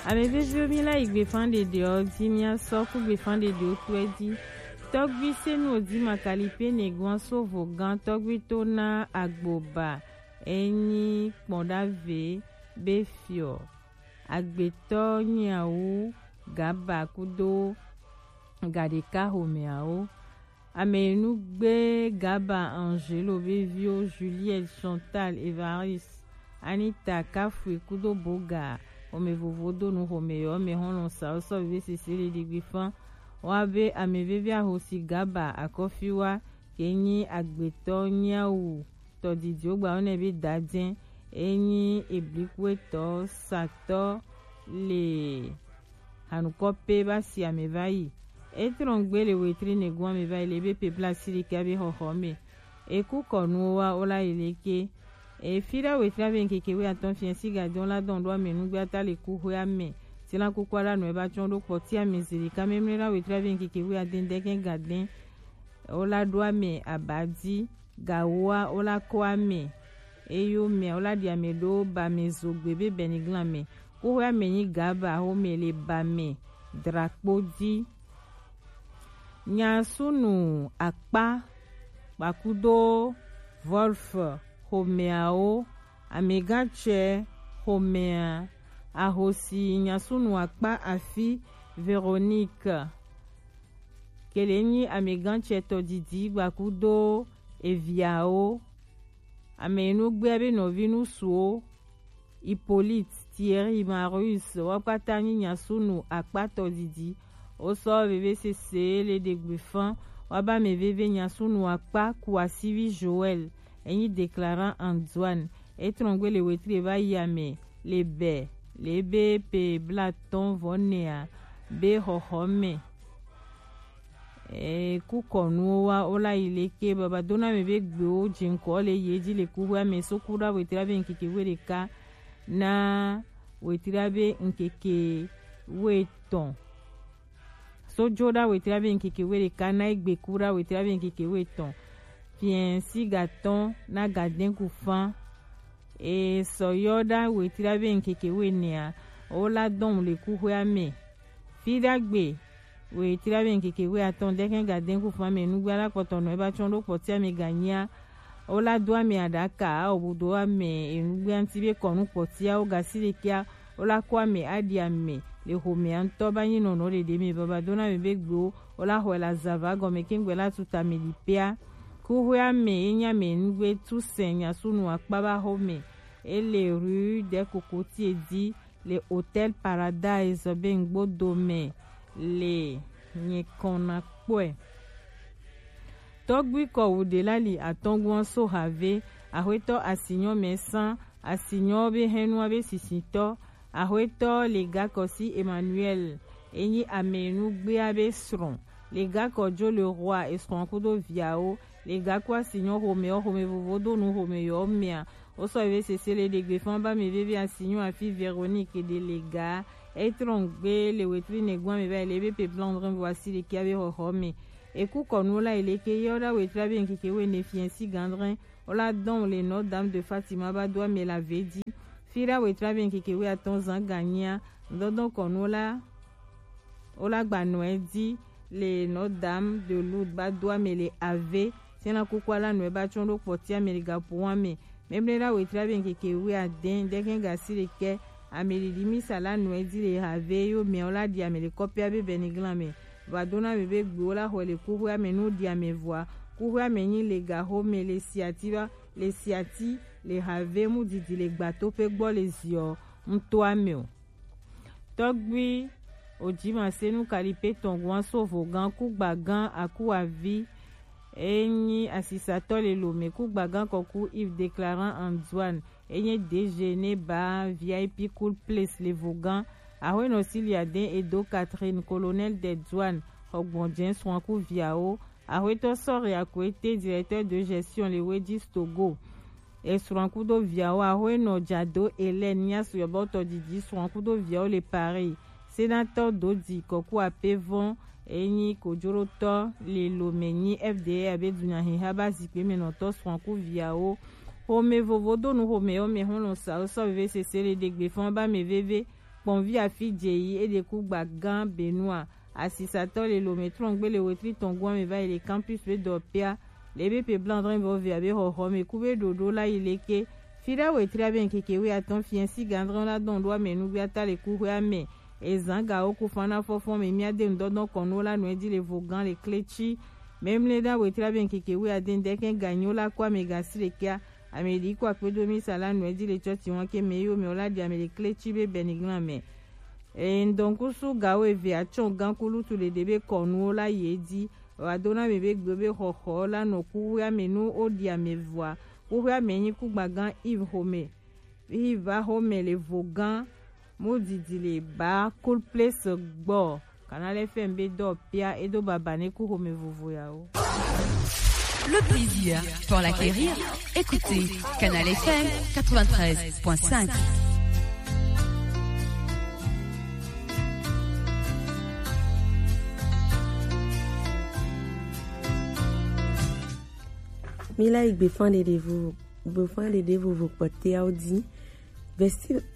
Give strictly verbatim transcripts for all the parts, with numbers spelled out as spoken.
Ame veviwo, mi la yi gbefan ɖeɖeɔ ji, mi asɔ ku gbefan ɖeɖewo kpɛ ji. Tɔgbi Senu Odi Makalipe Neguan Sovo gan tɔgbi to na Agboba enyi kpɔn ɖave be fiɔ. Agbetɔ nyawu Gaba kudo gaɖeka homeawo. Ame nu gbe Gaba Angelo be viwo Juliette, Chantal, Evariste, Anita, Kafui kudo Boga, ome vovo do nu home yɔ me hɔn lɔn sa wo sɔ veve sese le ɖigbi fan. Wa be ame veve ahosi Gaba akɔfi wa ke nyi agbetɔ nyawu tɔdidi wo gba wo nɛ be dadɛn enyi eblikuetɔ satɔ le hanukɔ pe ba si ame va yi. Etrɔn gbe le wetri negun ame va yi le be pe bla si ɖeke abe xɔxɔ me. Eku kɔnuwo wa wo la yi leke. Efi ɖa wetri abe nkeke we atɔn fiɛ si gadɔn la dɔn ɖo ame nugbe ata le ku hwe ame. Ti la kuku ala nɔ eba tsɔn ɖo kpɔti ame zeli ka memle ɖa wetri abe nkeke we adɛn dɛkɛ gadɛn. Wo la ɖo ame abadi. Gawoa wo la kɔ ame, eyo mea wo la ɖi ame ɖo ba me zogbe be bɛniglan me. Kuxwe ame nyi Gaba xome le ba me drakpo di. Nyasunu akpa kpakudo Wolf xomeawo, amegatsɛ xomea, ahosi nyasunu akpa afi Véronique. Kele nyi amegatsɛ tɔdidi gbakudo eviawo. Ame yi nu gbea be nɔvi nusuwo, Hippolyte, Thierry, Marius, wo kpata nyi nyasunu akpa tɔdidi. Wo sɔ veve sese le ɖegbe fan, wa ba ame veve nyasunu akpa ku asivi Joël, enyi déclarant Antoine. Etrɔn gbe le wetri va yi ame le bɛ le be pe blatɔn vɔ nɛa be xɔxɔ me. Ee, kukɔnuwo wa wo la yi leke baba dona me be gbewo jinkɔ le ye ji le kuxwe ame so ku ɖa wetri be nkeke we ɖeka na wetri be nkeke we tɔn. So jo ɖa wetri be nkeke we ɖeka na egbe ku ɖa wetri be nkeke we tɔn. Fiɛ si gatɔn na gadɛn ku fan. E sɔ yɔ ɖa wetri be nkeke we nɛa, wo la dɔn le kuxwe ame. Fi ɖagbe wetri be nkeke we atɔn dɛkɛ gadɛn ku fan me nugbe ala kpɔtɔ nɔ eba tsɔn ɖo kpɔti ame ganyia. Wo la do ame aɖaka, obudo ame enugbe anti be kɔnu kpɔtia wo gasi ɖekea, wo la kɔ ame aɖi ame le xomea ŋutɔ ba nyi nɔnɔ ɖeɖe me baba dona me be gbewo, wo la xɔe la zava gɔme kengbe la tuta me ɖi pea. Kuxwe ame ye nya me nugbe tu sɛ nyasunu akpa ba xɔ me. Ele rue de kokoti edi le Hôtel Paradise be ŋgbo dome le nyikɔna kpɔe. Tɔgbui kɔwu ɖe la li atɔnguan so have, axwetɔ asinyɔ mɛ san, asinyɔ be hɛnua be sisitɔ, axwetɔ le gakɔ si Emmanuel, enyi ame nugbea be srɔ̃, le gakɔ jo le roi esrɔ̃ kudo viawo, le gakɔ asinyɔ xomɛ xomɛ vovo do nu xomɛ yɔ mɛa, wo sɔ eve sese le ɖegbe fan ba me veve asinyɔ afi Véronique de le ga, etrɔn gbe le wetri nɛgbɔn me va le be pe blanc drin voici le kia be xɔxɔ me. Eku kɔnu la ele ke yɔ da wetri be nkeke we ne fiɛ si gandrin. Wo la dɔn le Notre Dame de Fatima ba do ame la vedi. Fi da wetri be nkeke we atɔn zan ganyia. Dɔdɔn kɔnu la, wo la gba nɔe di le Notre Dame de Lourdes ba do ame le ave. Sena kuku ala nɔe ba tsɔn ɖo kpɔti ame le gapo ame. Memle la wetri be nkeke we adɛn dɛkɛ gasi le kɛ. Ame ɖiɖi misa la nɔe di le have yo mɛ wo la ɖi ame le kɔpia be bɛniglan me. Va dona me be gbewo la xɔe le kuxwe ame nu ɖi ame vɔa. Kuxwe ame nyi le gaxo me le siati ba le siati le have mu didi le gbato pe gbɔ le ziɔ ŋutɔ ame o. Tɔgbui Ojimasenu Kalipe tɔn guan so vogan kugba gan akuavi. Enyi asisatɔ le lome kugba gan kɔku Yves Declarant Antoine. Enyi D G ne ba V I P Cool Place le vogan. Ahoenɔ Siliaden Edo Catherine, colonel de douane, xɔgbɔnjɛ srɔ̃ ku viawo. Ahoetɔ Sɔri Akwete, directeur de gestion le Wedis Togo. Esrɔ̃ kudo viawo. Ahoenɔ Jado Hélène, nya suyɔbɔtɔ didi srɔ̃ kudo viawo le Paris. Senatɔ Dodi Kɔku Apevɔn, enyi kojorotɔ le lome nyi F D A abe dunyahiha ba zikpe me nɔtɔ srɔ̃ ku viawo. Xome vovo do nu xome yɔ me xɔlɔ sa wo sɔ veve sese le ɖegbe fɔn ba me veve. Kpɔnvi afi dze yi eɖe ku gba gã Benua. Asisatɔ le lome trɔngbe le wetri tɔn gɔn me va yi le campus be dɔ pia. Le be pe blanc dre vɔ via be xɔxɔ me ku be ɖoɖo la yi leke. Fi ɖa wetri abe ŋkeke wi atɔn fiɛ si gandrɔn la dɔn ɖo ame nugbe ata le kuxwe ame. Ezan gawo ku fan na fɔfɔn me mia de ŋdɔdɔn kɔnuwo la nɔ edzi le vo gã le kletsi. Memle ɖa wetri abe ŋkeke wi ade ŋdɛkɛ ganyiwo la ku ame gasi le kia. Ame ɖi ku akpedo mi sa la nɔ edzi le tsɔtsi wọn ke me yo me wo la ɖi ame le kletsi be bɛniglan me. Eye ŋdɔnkusu gawo eve atsɔ gã ku lutu ɖeɖe be kɔnuwo la yi edzi. Wa do na mi be gbe be xɔxɔ la nɔ kuxwea me nu wo ɖi ame vɔa. Kuxwea me nyi kugba gã Yves Home. Yves va xɔme le vo gã. Mu didi le ba cool place gbɔ. Canal F M be dɔ pia edo baba ne ku xɔme vovo yawo. Le plaisir pour l'acquérir, écoutez Canal F M quatre-vingt-treize point cinq. Mi la yi gbe fan ɖeɖe vo, gbe fan ɖeɖe vovo kpɔtɛawo di.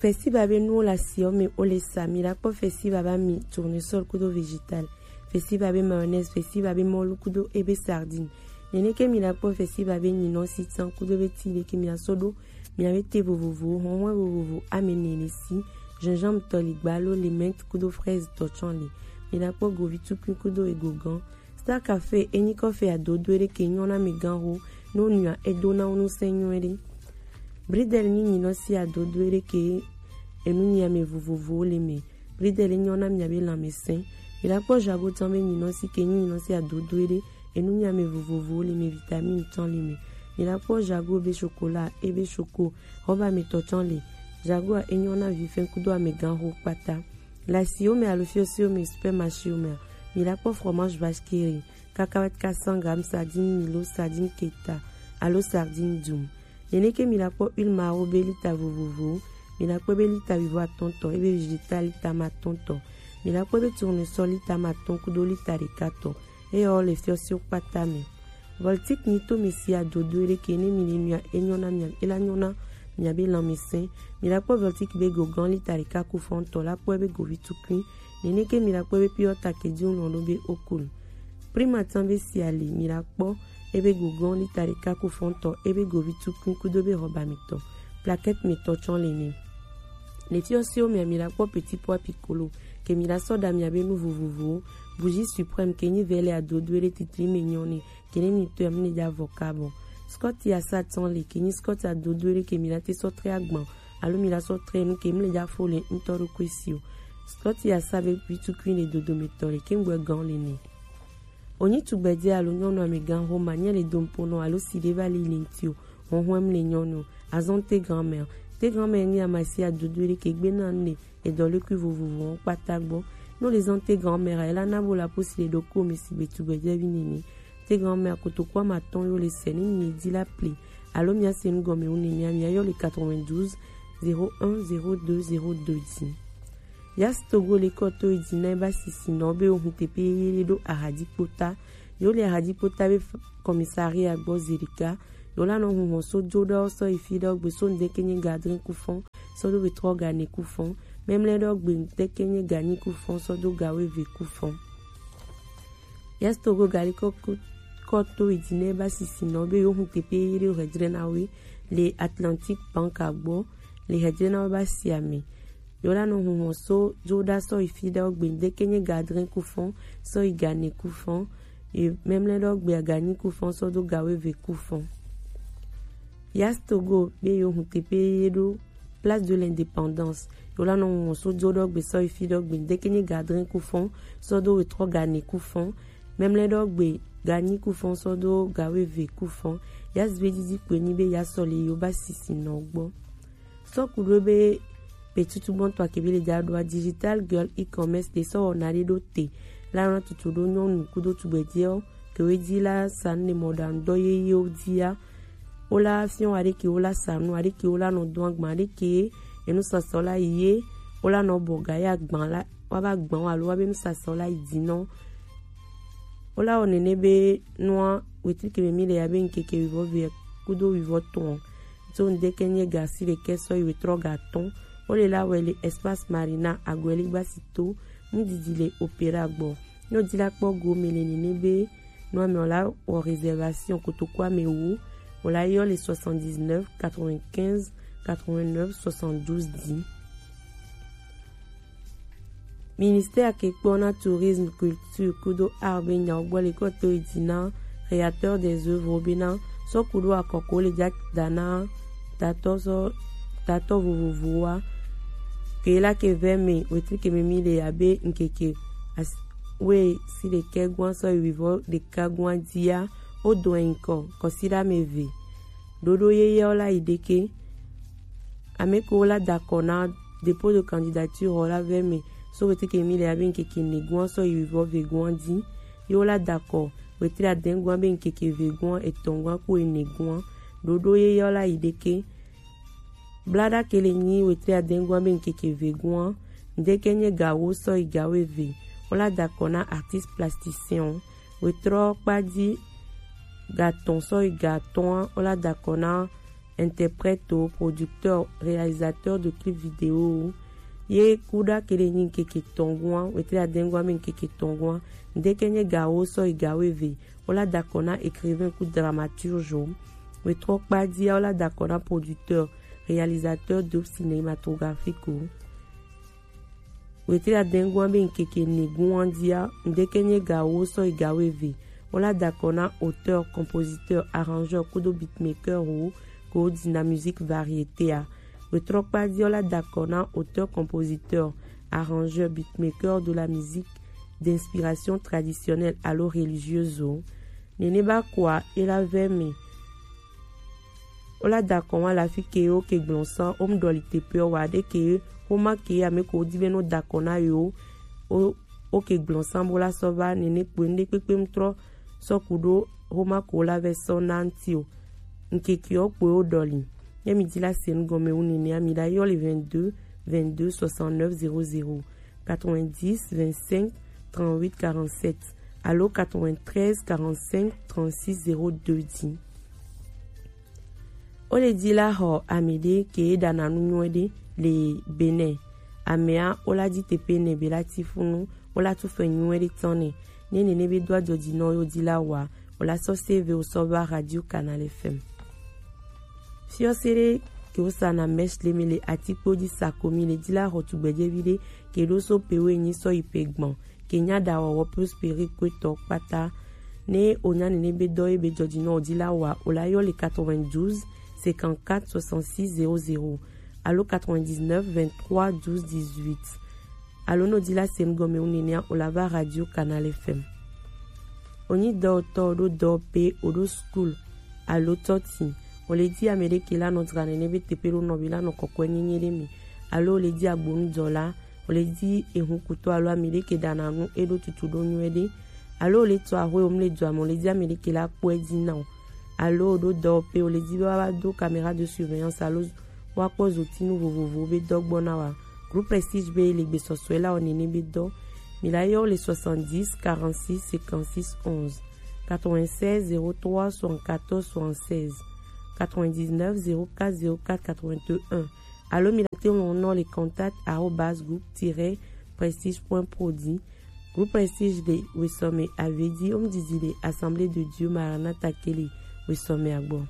Festival be nuwo le asiɔ me wo le sa, mi la kpɔ festival be ami tournesol kudo vegetal, festival be mayonnaise, festival be mɔlu kudo ebe sardine. Nene ke mi la kpɔ festival be nyinɔ sitan kudo be ti ɖe ke mi la sɔ ɖo mi ave te vovovowo, hɔnhɔn vovovo, ame nene si, gingembre tɔ li gbalo, le menthe kudo fraise tɔ tsɔ li. Mi la kpɔ govi tukui kudo egogan. Star Café enyi kɔfe adodo ɖe ke nyɔ na mi gan ho, no nua edo na wo nu sɛ nyɔ ɖe. Bridel nyi nyinɔ si adodo ɖe ke enu nyi ame vovovowo le me. Bridel nyɔ na mi abe lãmesẽ. Mi la kpɔ jago tɔn be nyinɔ si ke nyi nyinɔ si adodo ɖe enu nyi ame vovovowo le me, vitamine tɔn le me. Mi la kpɔ jago be chocolat, ebe choco, xɔba me tɔ tɔn le. Jago a enyɔ na vifɛn kudo ame gan ho kpata. Le asiwo me alo fiɔsiwo me, supermarchéwo mea, mi la kpɔ fromage vache qui rit, cacahuète quatre cents grammes, sardine Milo, sardine Keta alo sardine Dum. Nene ke mi la kpɔ huile maro be lita vovovowo, mi la kpɔ be lita wuivo atɔn tɔ, ebe vegetal lita ma atɔn tɔ, mi la kpɔ be tournesol lita ma atɔn kudo lita ɖeka tɔ. Eyɔ le fiɔsiwo kpata me. Voltic nyi to mi si adodo ɖe ke ne mi le nua enyɔ na mia, ela nyɔ na mia be lãmesẽ. Mi la kpɔ Voltic be gogan lita ɖeka ku fɔntɔ la kpɔ ebe govi tukui. Nene ke mi la kpɔ be pure takedi lɔn ɖo be okul. Primatan be si ali mi la kpɔ ebe gogan lita ɖeka ku fɔntɔ ebe govi tukui kudo be hɔba mi tɔ. Plaquette mi tɔ tsɔ le ne. Le fiɔsiwo mea mi la kpɔ petit pois piccolo ke mi la sɔ ɖa mia be nu vovovowo. Bougie suprême ke nyi vɛ le adodo ɖe titri me nyɔ ne. Ke ne mi tɔ ya mi le dza vɔ kabɔ. Scott ya sa tɔn le ke nyi Scott adodo ɖe ke mi la te sɔ tre agban alo mi la sɔ tre nu ke mi le dza fo le ŋtɔ ɖo kwe si o. Scott ya sa be vitukui le dodo me tɔ le ke ŋgbɛ gan le ne. Onyi tugbedze alo nyɔnu amegan ho ma nye le domponɔ alo si ɖe va li le ŋti o. Hɔnhɔn mi le nyɔnu. Azɔn te grand-mère. Te grand-mère nyi amasi adodo ɖe ke gbe na ne edɔlekui vovovowo kpata gbɔ. Ne le zɔn te grand-mère, ela na bo la pusi le ɖokui me sigbe tugbedzevi nene. Te grand-mère kotoku amatɔn yo le sɛ ne mi di la pli. Alo mia se nu gɔme wu ne mia, mia yɔ le quatre-vingt-douze zéro un zéro deux zéro deux dix. Yas Togo le kɔ to yi di na eba sisi nɔ be ohun tepe ye ɖo ahadi kpota. Yo le ahadi kpota be f-, commissariat gbɔ zedika. Yo la nɔ hun hɔn so jo ɖɔ sɔ yi fi ɖɔ gbe so ŋdeke nye gadrin kufɔn sɔ do vetrɔ gane kufɔn. Memle ɖɔ gbe ŋdeke nye ganyi kufɔn sɔ do gawe ve kufɔn. Yas Togo gali kɔ ku-, kɔ to yi di na eba sisi nɔ be yo hun tepe ye ɖo hɛdre na we le Atlantique Bank agbɔ le hɛdre na we ba si ame. Yo la nɔ hun hɔn so jo ɖa sɔ yi fi ɖɔ gbe ŋdeke nye gadrin kufɔn sɔ yi gane kufɔn. Ye memle ɖɔ gbe ganyi kufɔn sɔ do gawe ve kufɔn. Yas Togo be yo hun tepe ye ɖo Place de l'Indépendance. Yo la nɔ wɔn so do ɖɔ gbe sɔ yi fi ɖɔ gbe ŋdeke nye gadrin kufɔn sɔ do wetrɔ gane kufɔn. Memle ɖɔ gbe ganyi kufɔn sɔ do gawe ve kufɔn. Yas be didi kpe nyi be ya sɔ le yo ba sisi nɔ gbɔ. Sɔ ku ɖo be petutu gbɔntɔ akebe le dza ɖoa Digital Girl E-commerce de sɔ wɔna ɖe ɖo te. La nɔ tutu ɖo nyɔnu kudo tugbedzewo kewe di la sa ne mɔɖaŋudɔ yeyewo dia. Wo la fiɔ aɖeke wo la sa nu, aɖeke wo la nɔ do agban, aɖeke enu sɔsɔ la yi ye, wo la nɔ bɔ ga ya agban la, wa ba agban alo wa be nu sɔsɔ la yi di nɔ. Wo la wɔ nene be nua wetri ke me mi le ya be ŋkeke wivɔ ve kudo wivɔ tɔn. Tso ŋdeke nye ga si ɖekɛ sɔ yi wetrɔ ga tɔn. Wo le la wɛ le Espace Marina Agueligba si to, nu didi le Opéra gbɔ. Ne o di la kpɔ go me le nene be nu ame o la wɔ réservation kotoku ame wo, o la yɔ le soixante-dix-neuf quatre-vingt-quinze quatre-vingt-neuf soixante-douze dix. Ministère ke kpɔ na tourisme, culture kudo art be nyawo gbɔ le kɔ to yi di na créateur des œuvres be na sɔ kudo akɔko le ja da na tatɔ sɔ tatɔ vovovo wa. Ke la ke vɛ me wetri ke me mi le abe nkeke as-, we si le kɛ gwan sɔ yi vɔ de ka gwan dia o do en kɔ kɔ si da me ve. Ɖoɖo yeye ɔ la yi ɖeke. Ame kewo la da akɔ na dépôt de candidature ɔ la vɛ me so weteke mi le abe ŋkeke nɛgɔn sɔ yi wivɔ vegɔn di. Ye wo la da akɔ wetri adɛngɔn be ŋkeke vegɔn etɔngɔn ku enɛgɔn. Ɖoɖo yeye ɔ la yi ɖeke. Blaɖa ke le nyi wetri adɛngɔn be ŋkeke vegɔn. Ŋdeke nye gawo sɔ yi gawo eve. Wo la da akɔ na artiste plasticien o. Wetrɔ kpa di gatɔn sɔ yi gatɔn wo la da akɔ na interprète, producteur, réalisateur de clip vidéo. Ye kuɖa ke le nyi ŋkeke tɔngɔn wetri adɛngɔn be ŋkeke tɔngɔn. Ŋdeke nye gawo sɔ yi gawo eve. Wo la da akɔ na écrivain ku dramaturge o. Wetrɔ kpa dia wo la da akɔ na producteur, réalisateur d'œuvres cinématographiques o. Wetri adɛngɔn be ŋkeke nɛgɔn dia ŋdeke nye gawo sɔ yi gawo eve. Wo la da akɔ na auteur, compositeur, arrangeur kudo beatmaker o ko dina musique variété a. Wetrɔ kpa dia wo la da akɔ na auteur, compositeur, arrangeur, beatmaker de la musique d'inspiration traditionnelle alo religieuse o. Nene ba kɔa e la vɛ me. Wo la da akɔ wa la fi ke wo ke gblɔn san wo mu ɖɔli teƒe wa ɖe ke wo ma ke ame ko di be no da akɔ na yo. Wo ke gblɔn san bo la sɔ va nene kpoe ŋɖe kpekpe mu trɔ sɔ ku ɖo wo ma ko la vɛ sɔ na ŋti o. Ŋkeke wo kpoe wo ɖɔli. Ye mi di la se nu gɔme wu nene ami la yɔ le vingt-deux vingt-deux soixante-neuf zéro zéro. Quatre-vingt-dix vingt-cinq trente-huit quarante-sept alo quatre-vingt-treize quarante-cinq trente-six zéro deux di. Wo le di la xɔ ame ɖe ke ɖana nu nyuie ɖe le Benin. Amea wo la di teƒe ne be la ti funu wo la tu fɛ nyuie ɖe tɔn ne. Ne nene be do adzɔdzi nɔ yo di la wa wo la sɔ save wo sɔ va Radio Canal F M. Fiɔse ɖe ke wo sa na mèche le mi le atikpo di sa ko mi le di la xɔ tugbedzevi ɖe ke ɖo so pe wo enyi sɔ yi pe gbɔn ke nya ɖa wɔwɔ Prosperi kpetɔ kpata. Ne o nya nene be dɔ ye be dzɔdzi nɔ o di la wa o la yɔ le quatre-vingt-douze cinquante-quatre soixante-six zéro zéro alo quatre-vingt-dix-neuf vingt-trois douze dix-huit. Alo no di la se nu gɔme wu nenea o la va Radio Canal F M. O nyi dɔwɔtɔ o ɖo dɔwɔƒe o ɖo school alo tɔti o le di ame ɖe ke la nɔ dra nene be teƒe ɖo nɔ be la nɔ kɔkɔe nyenye ɖe me alo o le di agbonudɔla o le di ehun kutɔ alo ame ɖe ke ɖana nu e ɖo tutu ɖo nyuie ɖe alo o le tɔ axwe o mu le dua me o le di ame ɖe ke la kpɔe di na o alo o ɖo dɔwɔƒe o le di be wa va do caméra de surveillance alo wa kpɔ zotinu vovovo be dɔ gbɔ na wa. Groupe Prestige be le gbesɔsɔe la o nene be dɔ. Mi la yɔ le soixante-dix quarante-six cinquante-six onze, quatre-vingt-seize zéro trois soixante-quatorze soixante-seize, quatre-vingt-dix-neuf zéro quatre zéro quatre quatre-vingt-un. Alo mi la te ŋlɔ nɔ le contact arobase groupe tiret prestige point pro di. Groupe Prestige le wesɔme avedi o mu didi le Assemblée de Dieu Maranatha ke le wesɔme agbɔ.